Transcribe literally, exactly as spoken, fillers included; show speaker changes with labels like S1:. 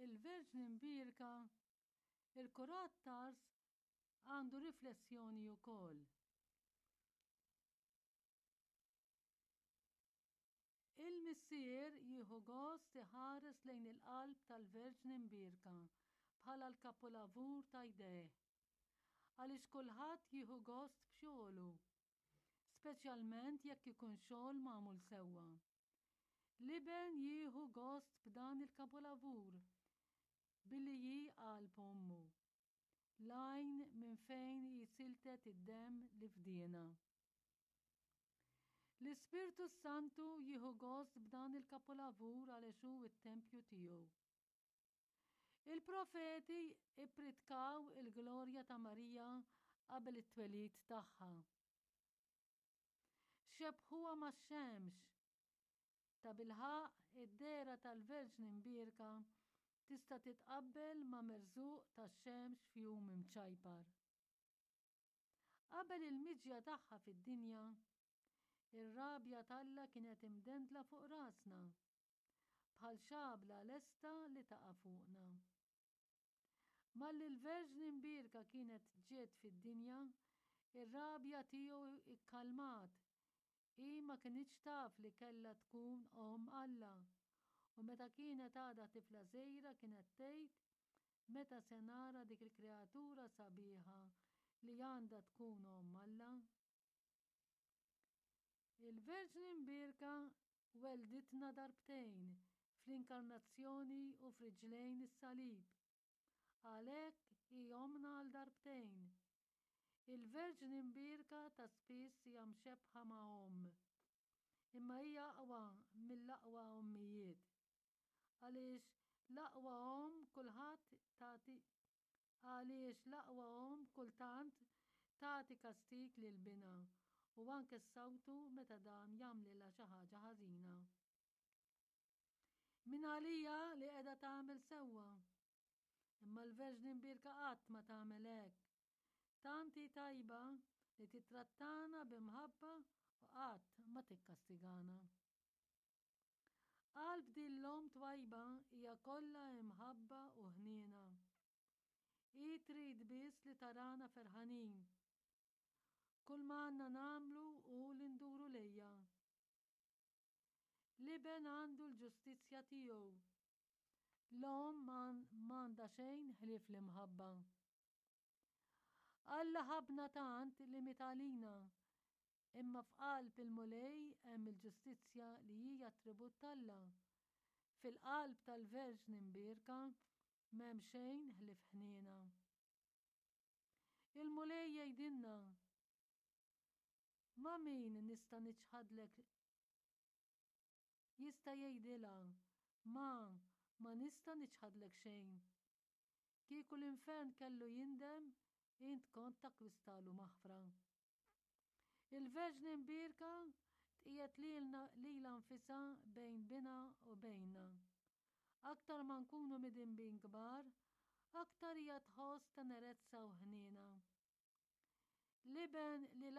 S1: Il-Verġni Mbierka, il-Kurat t'Ars għandu riflessjoni wkoll. Il-Missier jieħu gost iħares lejn il-qalb tal-Verġni Mbierka bħala l-kapulavur ta' jdejh. Għaliex kulħadd jieħu gost b'xogħlu, speċjalment jekk ikun xogħol magħmul sewwa. L-Iben jieħu gost b'dan il-kapulavur billi hi qalb ommu, l-għajn minn fejn hi siltet id-demm li fdiena. L-Ispirtu s-Santu jieħu gost b'dan il-kapulavur għaliex hu t-tempju tiegħu. Il-profeti ippritkaw il-glorja ta' Marija qabel it-twelid tagħha. Xebbħuha max-xemx. Tabilħaqq, id-dehra tal-Verġni Mbierka tista' titqabbel ma' merżuq tax-xemx f'jum imċajpar. Qabel il-miġja tagħha fid-dinja, ir-rabja t'Alla kienet imdendla fuq rasna, bħal xabla lesta li taqa' fuqna. Malli l-Verġni Mbierka kienet ġiet fid-dinja, ir-rabja tiegħu ikkalmat. Hi ma kinitx taf li kellha tkun omm Alla, u meta kienet għadha tifla żgħira kienet tgħid, Meta se nara dik il-kreatura sabiħa li għandha tkun omm Alla? Il-Verġni Mbierka welditna darbtejn, fl-Inkarnazzjoni u f'riġlejn is-Salib. Għalhekk hi ommna għal darbtejn. Il-Verġni Mbierka ta' spiss hija mxebbħa ma' omm. Imma hija aqwa mill-aqwa ommijiet. Għaliex l-aqwa omm kulħadd tagħti għaliex l-aqwa omm kultant tagħti kastig lil binha u anke ssawtu meta dan jagħmlilha xi ħaġa ħażina. Min għalija li qiegħda tagħmel sewwa. Imma l-Verġni Mbierka qatt ma tagħmel hekk. Tant hi tajba li tittrattana bi mħabba u qatt ma tikkastigana. Qalb din l-omm twajba hija kollha imħabba u ħniena. Hi trid biss li tarana ferħanin. Kull ma għandna nagħmlu hu li nduru lejha. L-Iben għandu l-ġustizzja tiegħu. L-omm m'għandha xejn ħlief l-imħabba. Alla ħabbna tant li miet għalina, imma f'qalb il-Mulej hemm il-ġustizzja li hi attribut t'Alla. Fil-qalb tal-Verġni Mbierka m'hemm xejn ħlief ħniena. Il-Mulej jgħidilna, Ma' min nista' niċħadlek Jista' jgħidilha, Ma, ma nista' niċħadlek xejn. Kieku l-infern kellu jindem, int kont takkwistalu maħfra. Il-Verġni Mbierka tqiegħed lilna lilha nfisha bejn binha u bejnna. Aktar ma nkunu midinbin kbar, aktar hija tħoss tenerezza u ħniena. L-Iben li